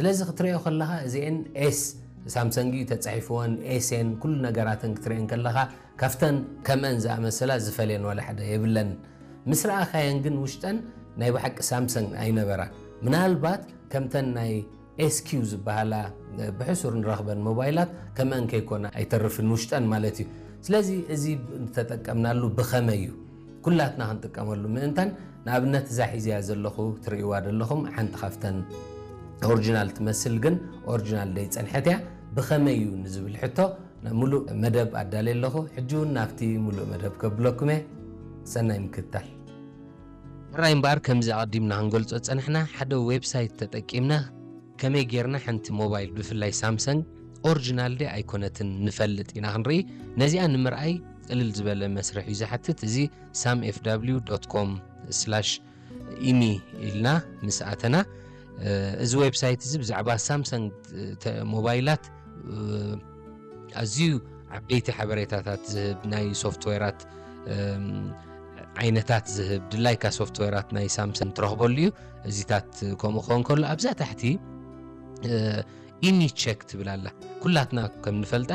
ስለዚ ክትሪኦ ከለኻ እዚኤን ኤስ ሳምሰንግ እዩ ተጻሒፍወን፣ ኤስን ኩሉ ነገራተን ክትሪኤን ከለኻ ካብተን ከምአን ዝኣመሰላ ዝፈልየን ዋላ ሓደ የብለን። ምስ ረኣኻየን ግን ውሽጠን ናይ ብሓቂ ሳምሰንግ ኣይነበራን። ምናልባት ከምተን ናይ ኤስኪው ዝበሃላ ብሕሱር ንረኽበን ሞባይላት ከምአን ከይኮና ኣይተርፍን ውሽጠን ማለት እዩ። ስለዚ እዚ ተጠቀምናሉ ብኸመይ እዩ? ኩላትና ክንጥቀመሉ ምእንታን ንኣብነት እዛ ሒዝያ ዘለኹ ትርእይዋ ዘለኹም ሓንቲ ካብተን ኦሪጂናል ትመስል ግን ኦሪጂናል ደይ ጸንሐት እያ። ብኸመይ እዩ ንዝብል ሕቶ ሙሉእ መደብ ኣዳልየ ኣለኹ። ሕጂ እውን ናብቲ ሙሉእ መደብ ከብለኩም እየ። ሰናይ ምክትታል። ሕራይ እምበኣር ከምዚ ኣቐዲምና ክንገልጾ ዝጸናሕና ሓደ ዌብሳይት ተጠቂምና ከመይ ጌርና ሓንቲ ሞባይል ብፍላይ ሳምሰንግ ኦሪጂናል ድያ ኣይኮነትን ንፈልጥ ኢና ክንርኢ። ነዚኣ ንምርኣይ ቅልል ዝበለ መስርሕ እዩ ዝሓትት። እዚ ሳም ኤፍ ዳብሊው ዶት ኮም ስላሽ ኢሚ ኢልና ምስ ኣተና እዚ ዌብሳይት እዚ ብዛዕባ ሳምሰንግ ሞባይላት ኣዝዩ ዓበይቲ ሓበሬታታት ዝህብ ናይ ሶፍትዌራት ዓይነታት ዝህብ ድላይካ ሶፍትዌራት ናይ ሳምሰንግ ትረኽበሉ እዩ። እዚታት ከምኡ ክኸውን ከሎ ኣብዛ ታሕቲ ኢሚ ቸክ ትብል ኣላ። ኩላትና ከም ንፈልጣ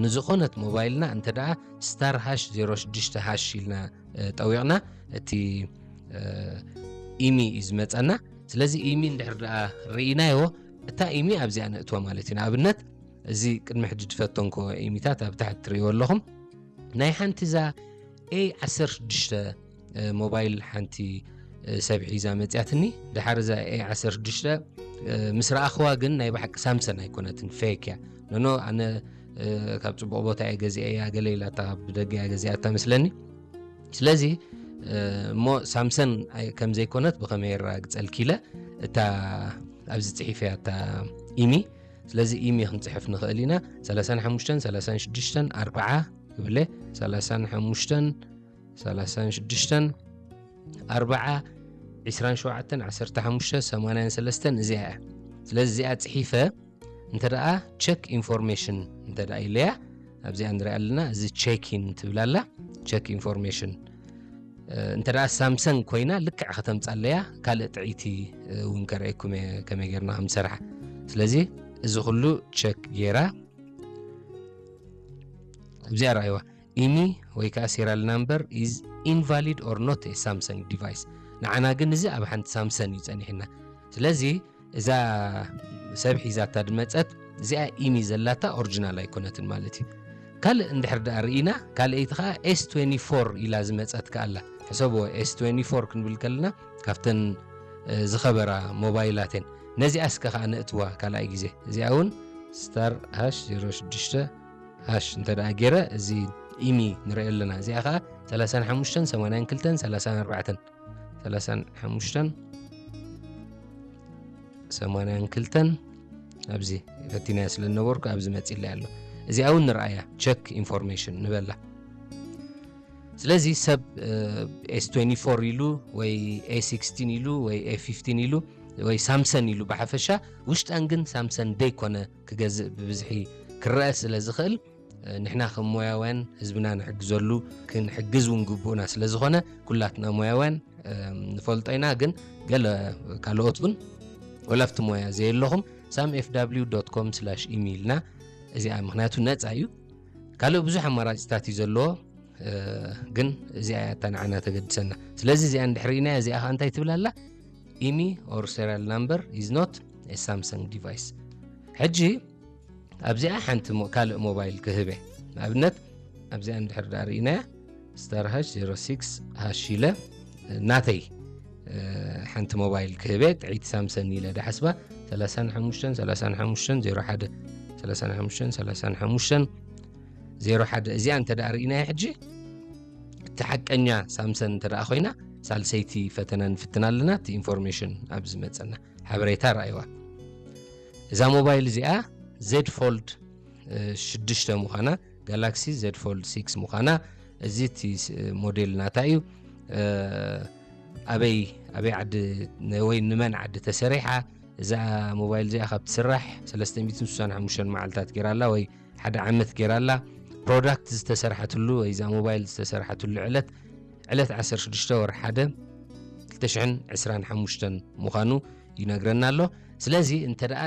ንዝኾነት ሞባይልና እንተ ደኣ ስታር ሃሽ ዜሮ ሽዱሽተ ሃሽ ኢልና ጠዊቕና እቲ ኢሚ እዩ ዝመፀና። ስለዚ ኢሚ እንድሕር ደኣ ርኢናዮ እታ ኢሚ ኣብዚኣ ነእትዋ ማለት እዩ። ንኣብነት እዚ ቅድሚ ሕጂ ዝፈተንኮ ኢሚታት ኣብ ታሕቲ ትርእይዎ ኣለኹም። ናይ ሓንቲ እዛ ኤ ዓሰርተ ሽዱሽተ ሞባይል ሓንቲ ሰብ ሒዛ መፅያትኒ። ድሓር እዛ ኤ ዓሰርተ ሽዱሽተ ምስ ረኣኽዋ ግን ናይ ብሓቂ ሳምሰን ኣይኮነትን፣ ፌክ እያ። ኖኖ ኣነ ካብ ፅቡቕ ቦታ እየ ገዚአ እያ ገለ ኢላታ ብደገ እያ ገዚኣታ መስለኒ። ስለዚ እሞ ሳምሰን ከም ዘይኮነት ብኸመይ የረጋግፀልኪ ኢለ እታ ኣብዚ ፅሒፈያ እታ ኢሚ። ስለዚ ኢሚ ክንፅሕፍ ንኽእል ኢና። ሰላሳን ሓሙሽተን ሰላሳን ሽዱሽተን ኣርብዓ ይብለ። ሰላሳን ሓሙሽተን ሰላሳን ሽዱሽተን ኣርብዓ ዒስራን ሸውዓተን ዓሰርተ ሓሙሽተ ሰማንያን ሰለስተን እዚኣ እያ። ስለዚ እዚኣ ፅሒፈ እንተ ደኣ ቸክ ኢንፎርሜሽን እንተ ደኣ ኢለያ ኣብዚኣ ንሪኣ ኣለና። እዚ ቸኪን ትብል ኣላ። ቸክ ኢንፎርሜሽን እንተ ደኣ ሳምሰንግ ኮይና ልክዕ ከተምፃለያ ካልእ ጥዕይቲ እውን ከርእየኩም እየ ከመይ ጌርና ከም ዝሰርሓ። ስለዚ እዚ ኩሉ ቸክ ጌራ ኣብዚኣ ረኣይዋ ኢሚ ወይ ከዓ serial number is invalid or not a Samsung device። ንዓና ግን እዚ ኣብ ሓንቲ ሳምሰን እዩ ጸኒሕና። ስለዚ እዛ ሰብ ሒዛታ ድመጸት እዚኣ ኢሚ ዘላታ ኦሪጂናል ኣይኮነትን ማለት እዩ። ካልእ እንድሕር ደኣ ርኢና ካልኣይቲ ከዓ ኤስ ትዌንቲ ፎር ኢላ ዝመጸት ከኣላ ሕሰብዎ። ኤስ ትዌንቲ ፎር ክንብል ከለና ካብተን ዝኸበራ ሞባይላት እየን። ነዚኣ እስከ ከዓ ነእትዋ ካልኣይ ግዜ። እዚኣ እውን ስታር ሃሽ ዜሮ ሽዱሽተ ሃሽ እንተ ደኣ ገይረ እዚ ኢሚ ንርኢ ኣለና። እዚኣ ከዓ ሰላሳን ሓሙሽተን ሰማንያን ክልተን ሰላሳን ኣርባዕተን ሰላሳን ሓሙሽተን ሰማንያን ክልተን ኣብዚ ፈቲናያ ስለ ዝነበርኩ ኣብዚ መፂለይ ኣሎ። እዚኣ እውን ንርኣያ ቸክ ኢንፎርሜሽን ንበላ። ስለዚ ሰብ ኤስ ትዌንቲ ፎር ኢሉ ወይ ኤ ሲክስቲን ኢሉ ወይ ኤ ፊፍቲን ኢሉ ወይ ሳምሰን ኢሉ ብሓፈሻ ውሽጠን ግን ሳምሰን ደይኮነ ክገዝእ ብብዝሒ ክረአ ስለ ዝኽእል ንሕና ከም ሞያውያን ህዝብና ንሕግዘሉ ክንሕግዝ እውን ግቡእና ስለ ዝኾነ ኩላትና ሞያውያን ንፈልጦ ኢና። ግን ገለ ካልኦት እውን ወላ ኣብቲ ሞያ ዘየለኹም ሳም ኤፍ ዳብሊው ዶት ኮም ስላሽ ኢሚ ኢልና እዚኣ ምክንያቱ ነፃ እዩ። ካልእ ብዙሕ ኣማራፂታት እዩ ዘለዎ። ግን እዚኣ እያ እታ ንዓና ተገድሰና። ስለዚ እዚኣ እንድሕር ርኢናያ እዚኣ ከዓ እንታይ ትብል ኣላ? ኢሚ or serial number is not a Samsung device። ሕጂ ኣብዚኣ ሓንቲ ካልእ ሞባይል ክህበ ንኣብነት ኣብዚኣ እንድሕር ዳ ርኢናያ ስታር ሃሽ ዜሮ ሲክስ ሃሽ ኢለ ናተይ ሓንቲ ሞባይል ክህበ ጥዒት ሳምሰን ኢለ ዳሓስባ ሰላሳን ሓሙሽተን ሰላሳን ሓሙሽተን ዜሮ ሓደ ሰላሳን ሓሙሽተን ሰላሳን ሓሙሽተን ዜሮ ሓደ እዚኣ እንተ ደኣ ርኢናያ ሕጂ እቲ ሓቀኛ ሳምሰን እንተ ደኣ ኮይና ሳልሰይቲ ፈተነ ንፍትን ኣለና። እቲ ኢንፎርሜሽን ኣብ ዝመፀና ሓበሬታ ረኣይዋ። እዛ ሞባይል እዚኣ ዜድ ፎልድ ሽዱሽተ ምዃና ጋላክሲ ዜድ ፎልድ ሲክስ ምዃና እዚ እቲ ሞዴል ናታ እዩ። ኣበይ ኣበይ ዓዲ ወይ ንመን ዓዲ ተሰሪሓ እዛ ሞባይል እዚኣ ካብ ትስራሕ ሰለስተ ሚእትን ስሳን ሓሙሽተን መዓልታት ገይራ ኣላ ወይ ሓደ ዓመት ገይራ ኣላ። ፕሮዳክት ዝተሰርሓትሉ ወይ እዛ ሞባይል ዝተሰርሓትሉ ዕለት ዕለት ዓሰርተ ሽዱሽተ ወርሒ ሓደ ክልተ ሽሕን ዕስራን ሓሙሽተን ምዃኑ ይነግረና ኣሎ። ስለዚ እንተ ደኣ